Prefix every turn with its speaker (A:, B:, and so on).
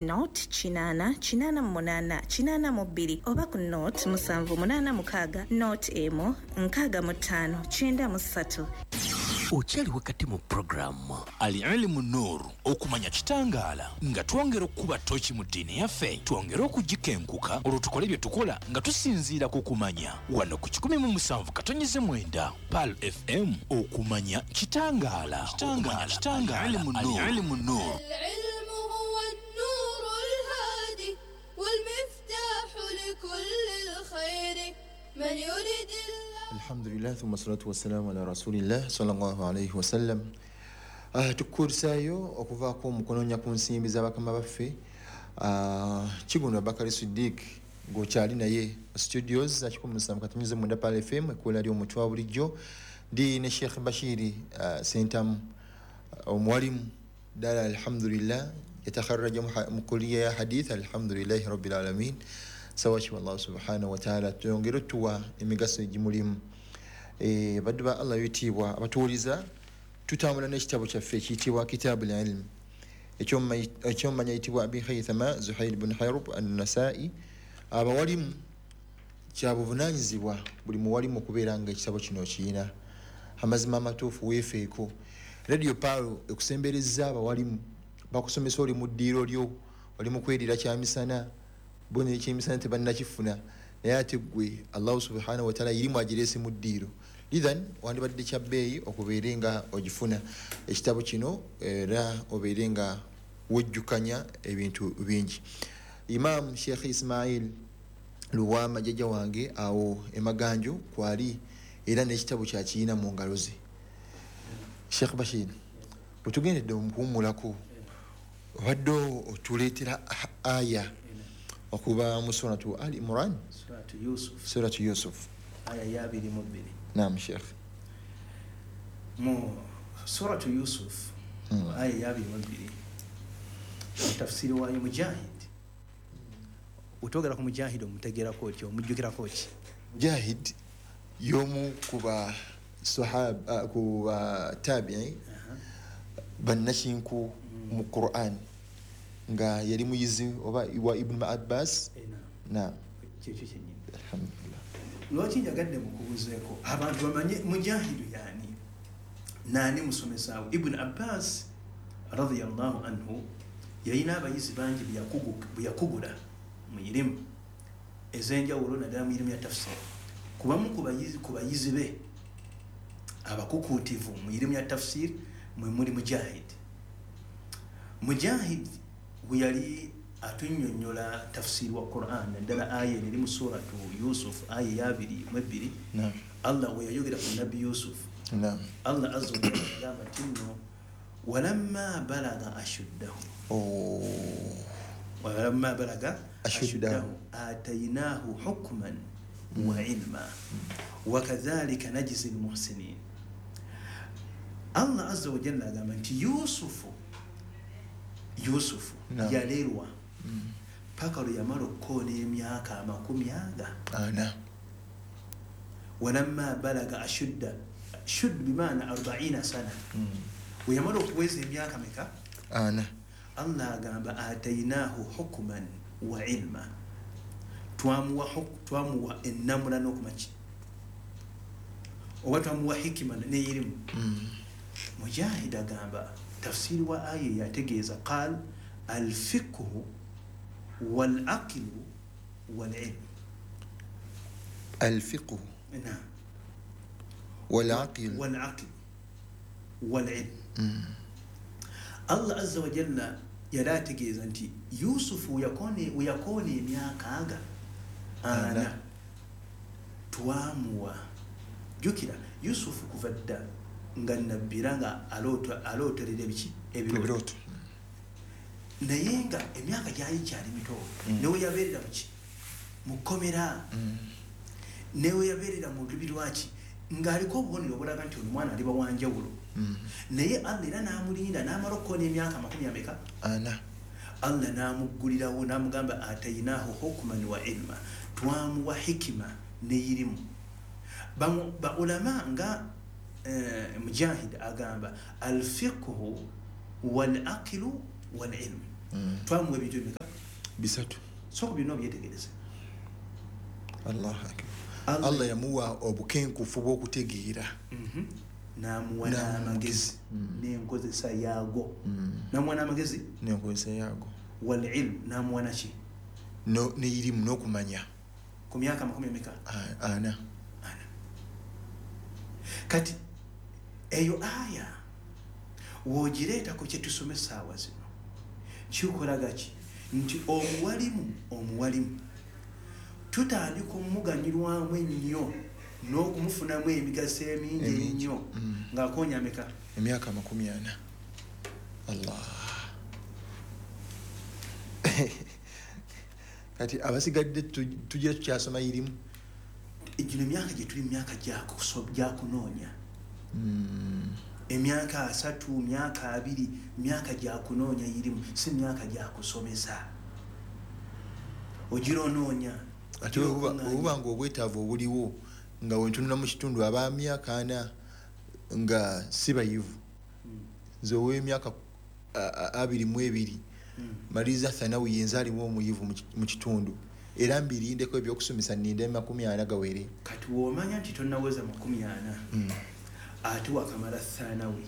A: Nought 8 8 8 82 oba ku nought 7 8 6 nought 1 65 93.
B: Okyali wakati mu puroguramu Al Ilimu Nur, okumanya kitangaala, nga twongera okukuba ttooki mu ddiini yaffe, twongere okugikenkuka, olwo tukole bye tukola nga tusinziira ku kumanya. Wano ku 107.9 Pearl FM, okumanya kitangaala. Kitangaala. Kitangaala. Al Ilimu Nur.
C: العلم هو النور الهادي والمفتاح لكل الخير من يريد الله.
D: Alhamdulillah, thumma salatu wassalamu ala rasulillah sallallahu alaihi wasallam. Tukukulisaayo okuvaako mu kunoonya ku nsimbi z'abakama baffe. Kigundo Abakari Siddiq ng'okyali naye studios za 107.9 Pearl FM, ekkuula ly'omuntu wa bulijjo. Ndi ne Sheikh Bashiri Sentamu, omuwalimu ddala, alhamdulillah, yatakharraja mu kulliya ya hadith, alhamdulillahi rabbil alamin. Sawaki wallahu subhanahu wataala twongere otuwa emigaso egimulimu. Baddu ba Allah ebitiibwa abatuwuliza, tutambula n'ekitabo kyaffe ekiyitibwa Kitabu Lilm, ekyomumanya ayitibwa Abi Haithama Zuhair bun Harub Annasai. Abawalimu kyabuvunanyizibwa buli muwalimu okubeera nga ekitabo kino okiyina. Amazima amatuufu, weefeeko. Radio Pearl ekusembereza abawalimu bakusomesa. Oli mu ddiiro lyo, oli mu kwerira kyamisana, bo nekyemisana tebannakifuna, naye ate gwe Allahu subhanahu wataala irimu agireese mu ddiiro. Lithan wandibadde kya bbeeyi okubeere nga ogifuna ekitabo kino, era obeere nga wejjukanya ebintu bingi. Imam Sheikh Ismail Luwama, jjajja wange awo emaganjo kwali, era n'ekitabo kyakiyina mu ngalo ze. Sheikh Bashir, bwetugendedde omukuwummulako, obadde otuleetera aya okuva mu Suratu Al Imran.
E: Suratu Yusuf.
D: Suratu Yusuf.
E: Aya ya 22.
D: Nam, Sheikh.
E: Mu Suratu Yusuf, aya ya 22, tafsiri waayo Mujahid. Otwogera ku Mujahid, omutegerako otya, omujjukirako ki?
D: Mujahid y'omu ku ba sahaba, ku ba tabii bannakinku mu Quran, nga yali muyizi oba wa Ibnu Abbas. Naam.
E: Kyekyo kyennyini.
D: Alhamdulillah.
E: Lwaki njagadde mukubuzeeko abantu bamanye Mujahidu yaani naani musomesaawo Ibuni Abbas radiyallahu anhu? Yalina abayizi bangi bwe yakugula mu irimu ez'enjawulo, naddala mu irimu ya tafsiri. Kubamu ku bayizi be abakukuutivu mu irimu ya tafsiri mwe muli Mujahid. Mujahid bwe yali atunnyonnyola tafsiri wa Quran, naddala aya eno eri mu Suratu Yusuf, aya eyabiri mu 2, Allah we yayogera ku Nabbi Yusuf, Allah azza wa jalla yagamba nti nno walamma balaga ashuddahu, walamma balaga
D: ashuddahu.
E: Ashuddahu atainahu hukman wa ilma wakadhalika najzi lmuhsinin. Allah azza wa jalla agamba nti Yusufu yalerwa paka lwe yamala okukoona emyaka 40.
D: Ana.
E: Walamma balaga ashudda, shud bimaana 40 sana. We yamala okuweza emyaka meka?
D: Ana.
E: Allah agamba atainahu hukman wa ilma, twamuwa ennamula n'okumaki, oba twamuwa hikima n'erimu. Mujahid agamba, tafsiri wa aya yategeeza, qal alfiqhu walaqlu walilmu.
D: Alfiqhu
E: naam
D: walaqil
E: walaql walilm. Allah azza wa jalla yali ategeeza nti Yusufu weyakoona emyaka aga 40,
D: Ana.
E: twamuwa. Jjukira Yusufu kuva dda nga nabbira nga alooterera ebiki? Ebirooto.
D: Ebirooto.
E: Naye nga emyaka gyali kyali mito. Newe yabeerera muki, mu kkomera, newe yabeerera mu lubi lwaki, ng'aliko obubonero obulaga nti ono mwana aliba wanjawulo. Naye Allah era n'amulinda n'amala okukoona emyaka makumi ameka?
D: Ana.
E: Allah n'amuggulirawo n'amugamba atainahu hukman wa ilma, twamuwa hikima neyirimu. Baulama nga Mujahid agamba alfiqhu walaqilu walilmu. Twamuwa ebintu bimeka?
D: Bisatu.
E: Sooka byonna obyetegereze.
D: Allahu akbar. Allah yamuwa obukenkufu bw'okutegeera.
E: N'amuwa n'amagezi n'enkozesa yaago. N'amuwa n'amagezi
D: n'enkozesa yaago.
E: Wal ilmu, n'amuwa naki?
D: N'irimu, n'okumanya.
E: Ku myaka makumi emeka?
D: Ana.
E: Ana. Kati eyo aya woogireeta ku kye tusoma essaawa zino, kikolaga ki? Nti omuwalimu tutandika omuganyulwamu ennyo n'okumufunamu emigaso emingi ennyo ng'akoonya ameka?
D: Emyaka 40. Allah. Kati abasigadde tugira tukyasoma irimu.
E: Gino emyaka gye tuli myaka gyakunoonya. Emyaka 30, myaka 20, myaka gyakunoonya irimu, si myaka gyakusomesa. Ogira onoonya.
D: Ate obuba nga obwetaavu obuliwo nga wentunula mu kitundu ab'emyaka 40 nga si bayivu. Nze ow'emyaka 22 maliriza thanawi, yenze alimu omuyivu mu kitundu, era mbirindeko ebyokusomesa nninde 40 gawere.
E: Kati w'omanya nti tonnaweza 40 ate wakamala thanawi.